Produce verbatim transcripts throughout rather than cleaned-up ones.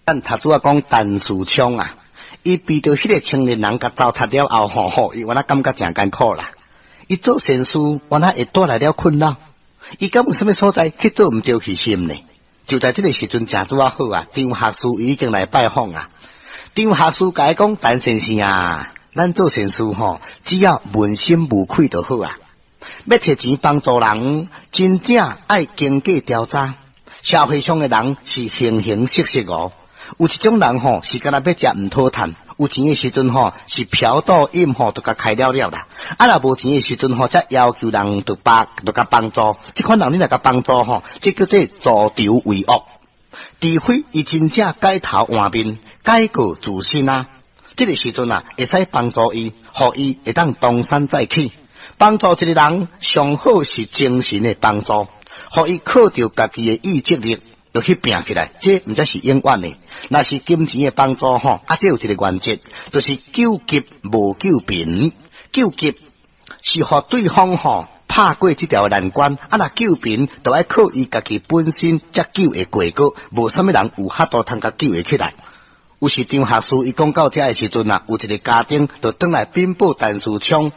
咱頭拄仔講陳嗣聰啊，伊被著彼個青年人共糟蹋了後，吼吼，伊原來感覺誠艱苦啦。伊做善事，原來會帶來了困擾。伊敢有啥物所在去做毋著去心呢？就在這个時陣，誠拄仔好啊，張學士已經來拜訪啊。張學士共伊講，陳先生啊，咱做善事吼，只要問心無愧就好啊。欲提錢幫助人，真正愛經過調查。社會上的人是形形色色哦。有一種人吼，是敢若欲食毋討趁，有錢的時陣吼，是嫖賭飲吼，就共開了了啦。啊，若無錢的時陣吼，才要求人著幫，著共幫助。這款人你若共幫助吼，這叫做助紂為惡。除非伊真正改頭換面，改過自新啊，這个時陣啊，會使幫助伊，予伊會當東山再起。幫助一个人，上好是精神的幫助，予伊靠著家己的意志力，就去拚起來，這毋才是永遠的。若是金錢的幫助吼，啊，這有一个原則，就是救急無救貧。救急是予對方吼拍過這條難關，啊，若救貧，就愛靠伊家己本身才救會過過，無啥物人有法度通共救會起來。有時張學士伊講到遮的時陣啊，有一个家丁就轉來稟報陳嗣聰。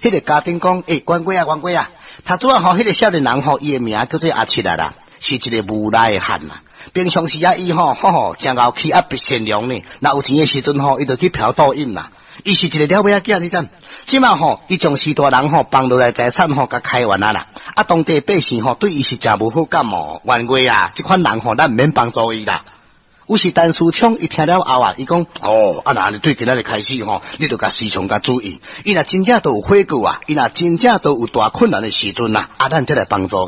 彼个家丁講：欸，官貴啊，官貴啊，頭拄仔吼，彼个少年人吼，伊的名叫做阿七啊啦，是一个無賴的漢啊。平常時啊，伊吼，吼吼，誠𠢕氣啊，不善良呢。若有錢的時陣吼，伊就去嫖賭飲啦。伊是一个了尾仔囝，你知？這馬吼，伊將序大人吼放落來財產吼，共開完啊啦。啊，當地百姓吼對伊是誠無好感哦。冤家啊，這款人吼，咱毋免幫助伊啦。有時陳嗣聰伊聽了後啊，伊講：哦，啊，若對今仔日開始吼，你著共時常共注意。伊若真正都有悔過啊，伊若真正都有大困難的時陣啊，啊，咱才來幫助。